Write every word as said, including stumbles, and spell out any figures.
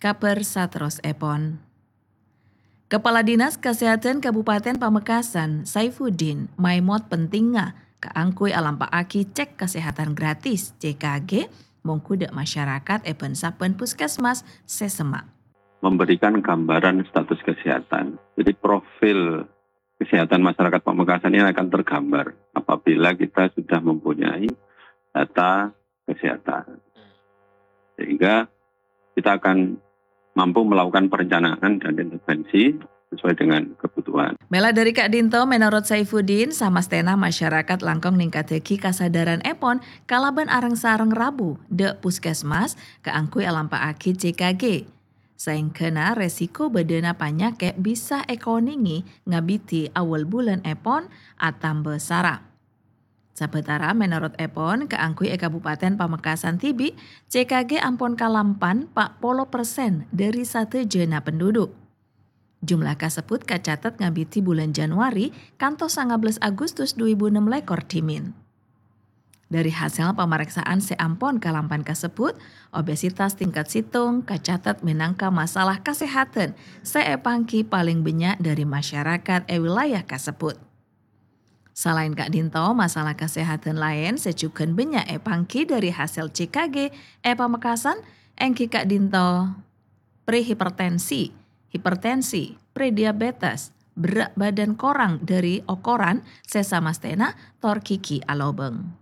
Kabhâr saterrossèpon. Kepala Dinas Kesehatan Kabupaten Pamekasan, Saifuddin, maèmot pentingnga kaangghuy alampa'aghi cek kesehatan gratis, C K G, mongghu dâ' masyarakat è bân-sabbhân puskesmas sè semma'. Memberikan gambaran status kesehatan. Jadi, profil kesehatan masyarakat Pamekasan ini akan tergambar apabila kita sudah mempunyai data kesehatan. Sehingga kita akan mampu melakukan perencanaan dan intervensi sesuai dengan kebutuhan. Mèla dhâri ka'dinto, mènorot Saifuddin, samastèna masyarakat langkong ningkaddhâghi kasadhârânèpon kalabân areng-sareng rabu dâ' puskesmas kaangghuy alampa'aghi C K G. Saèngghâna resiko bâdâna panyakè' bisa èkonèngè ngabidhi awwâl bulânèpon atamba sara. Sabâtara mènorot èpon, kaangghuy è Kabupaten Pamekasan dhibi', C K G ampon kalampan pa' polo persen dhâri sadhâjâna penduduk. Jumlah kasebbhut kacatet ngabidhi bulân Januari kantos sanga bellâs Agustus dhu èbu ennem lèkor dhimèn. Dhâri hasèl pamarèksaan sè ampon kalampan kasebbhut, obesitas tingkat sèttong kacatet mènangka masalah kasèhadhân sè èpangghi palèng bânnya' dhâri masyarakat è wilayah kasebbhut. Salaèn ka'dinto, masalah kasèhadhân laèn sè jhughân bânnya' èpangghi dhâri hasèl C K G è Pamekasan èngghi ka'dinto prehipertensi, hipertensi, prediabetes, berrâ' bhâdhân korang dhâri okoran sè samastèna, tor ghighi alobâng.